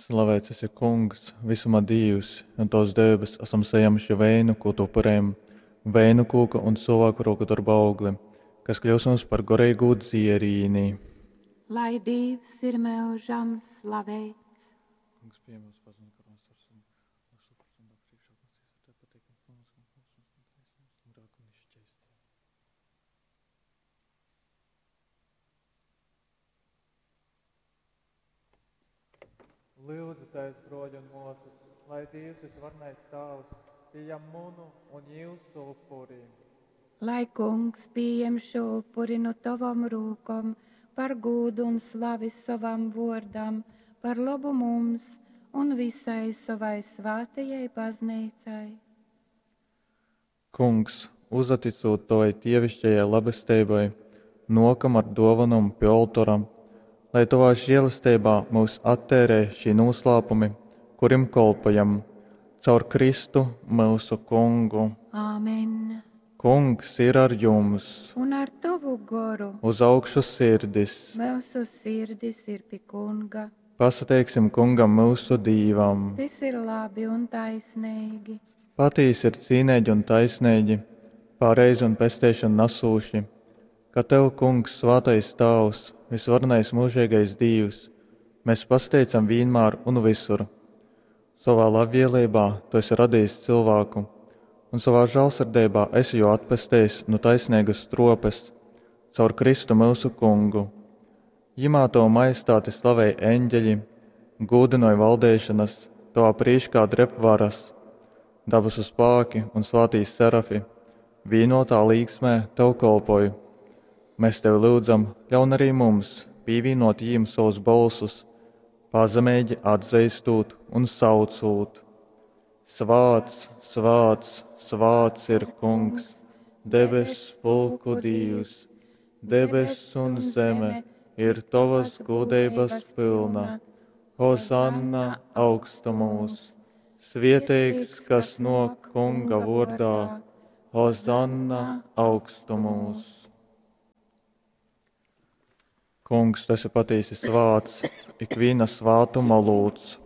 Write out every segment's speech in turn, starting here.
Slavēts esi, Kungs, visuma Dīvs, un Tavas devības esam sajēmuši veinu, ko Tu upurējam, veinu kūka un cilvēku roku darba augli, kas kļūs mums par garīgū dzierīni. Lai Dīvs ir mūžam slavēts. Kungs, pieņem mūsu paziņu, ka mums ar sunu, mūsu upurs un darbs priekšā, kungs, ir tev pateikams, un mūsu kungs, un taisnības, un grēku un izšķēstību. Lūdzu, broļi un māsas, lai Dievs visvarenais Tēvs pieņem munu un jūsu upuri. Lai kungs pieņem šo upuri no tavam rūkom par gūdu un slavi savam vārdam, par labu mums un visai savai svētajai baznīcai. Kungs, uzaticot tavai dievišķajai labestībai, nokam ar dovanom pie oltora, lai tavā žēlastībā mūs attērē šī noslēpumi, kurim kolpojam, caur Kristu mūsu kungu. Āmen. Kungs ir ar jums, Un ar tavu goru uz augšu sirdis. mūsu sirdis ir pie kunga. Pasateiksim kungam mūsu dīvam. Tas ir labi un taisnīgi. Patīsi ir cīnīgi un taisnīgi, pareizi un pestīšanu nesūši, ka tev, kungs, svētais Tēvs, visvarenais mūžīgais Dievs, mēs pasteicam vienmēr un visur. Savā labvēlībā tu esi radījis cilvēku, un savā žēlsirdībā esi jo atpestījis no taisnīgas tropes, caur Kristu mūsu kungu. Jimā tavu majestāti slavēja eņģeļi, gūdinoja valdēšanas, tavā prīškā dreb varas, dabasu spēki un svētī serafi, vienotā līgsmē tev kolpoju. Mēs tevi lūdzam, ļaun arī mums pievienot jīm savus balsus, pazemīgi atzīstot un saucot. Svāts, svāts, svāts ir kungs, debes pulku Dievs, debes un zeme ir tavas gudrības pilna. Hosanna augstumos, svieteigs, kas no kunga vārdā, Hosanna augstumos. Kungs, tu esi patiesi svāts, ikviena svātuma lūdz.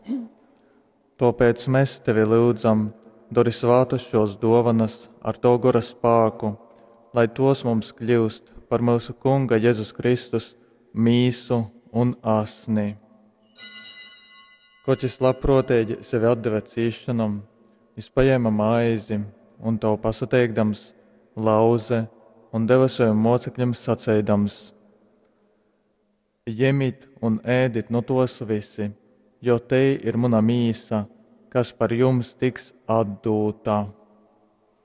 Tāpēc mēs tevi lūdzam, dori svātas šos dovanas ar to gora spēku, lai tos mums kļūst par mūsu Kunga Jēzus Kristus mīsu un asni. Koč jis labprātīgi sevi atdeva cīšanam, jis paņēma maizi un to pasateikdams, lauze un deva saviem mocekļiem sacīdams: Ņemiet un ēdit no tos visi, jo te ir mana mīsa, kas par jums tiks atdūta.